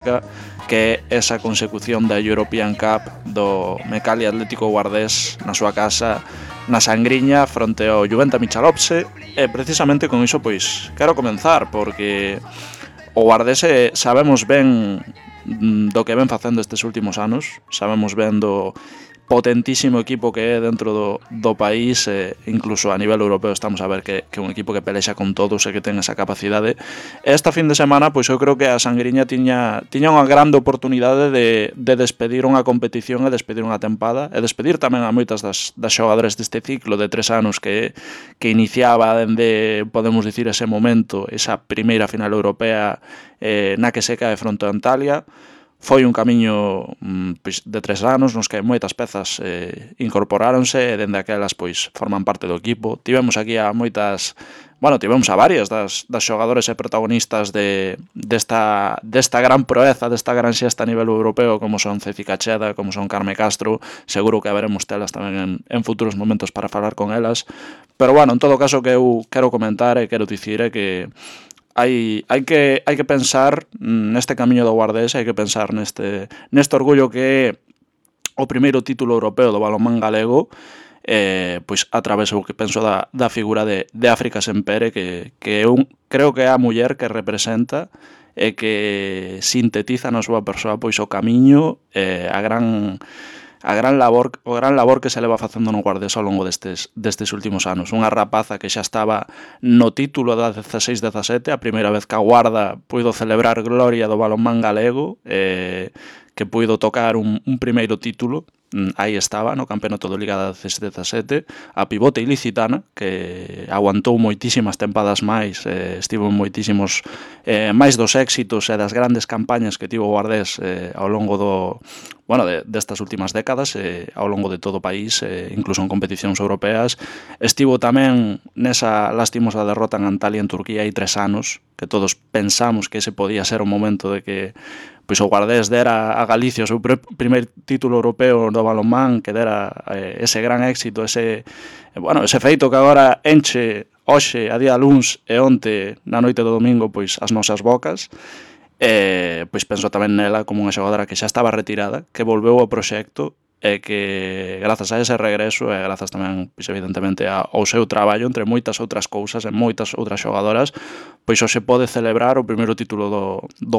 que é esa consecución da European Cup do Mecali Atlético Guardés na súa casa na Sangriña fronte ao Juventa Michalovce, e precisamente con iso pois quero comenzar, porque o Guardés sabemos ben do que ven facendo estes últimos anos, sabemos ben do potentísimo equipo que é dentro do país, incluso a nivel europeo estamos a ver que é un equipo que pelexa con todos e que ten esa capacidade. Esta fin de semana, pois eu creo que a Sangriña tiña unha grande oportunidade de despedir unha competición e despedir unha tempada e despedir tamén a moitas das xogadores deste ciclo de 3 anos que iniciaba dende, podemos dicir, ese momento, esa primeira final europea na que se cae fronte a Antalya. Foi un camiño de 3 anos nos que moitas pezas incorporáronse e dende aquelas pois forman parte do equipo. Tivemos aquí a moitas, tivemos a varias das xogadores e protagonistas desta gran proeza, desta gran xesta a nivel europeo, como son Ceci Cacheda, como son Carme Castro. Seguro que haberemos telas tamén en futuros momentos para falar con elas. Pero en todo caso que eu quero comentar e quero dicir é que hai que pensar neste camiño do Guardés, hai que pensar neste orgullo que é o primeiro título europeo do balonmán galego, pois a través, o que penso, da figura de África Sempere, que creo que é a muller que representa e que sintetiza na súa persoa pois o camiño, o gran labor que se leva facendo no Guardés ao longo destes últimos anos. Unha rapaza que xa estaba no título da 16-17, a primeira vez que a Guarda puido celebrar gloria do balonmán galego, que puido tocar un primeiro título. Aí estaba, no campeonato de Liga da 16-17, a pivote ilicitana, que aguantou moitísimas tempadas máis, estivo en moitísimos máis dos éxitos e das grandes campañas que tivo o Guardés ao longo destas últimas décadas, ao longo de todo o país, incluso en competicións europeas. Estivo tamén nesa lastimosa derrota en Antalya, en Turquía, hai 3 anos, que todos pensamos que ese podía ser o momento de que pois o Guardés dera a Galicia o seu primeiro título europeo do balonmán, que dera ese gran éxito, ese feito que agora enche hoxe, a día luns e onte na noite do domingo, pois as nosas bocas. Pois penso tamén nela como unha xogadora que xa estaba retirada, que volveu ao proxecto e que grazas a ese regreso e grazas tamén, pois evidentemente, ao seu traballo, entre moitas outras cousas e moitas outras xogadoras, pois hoxe pode celebrar o primeiro título do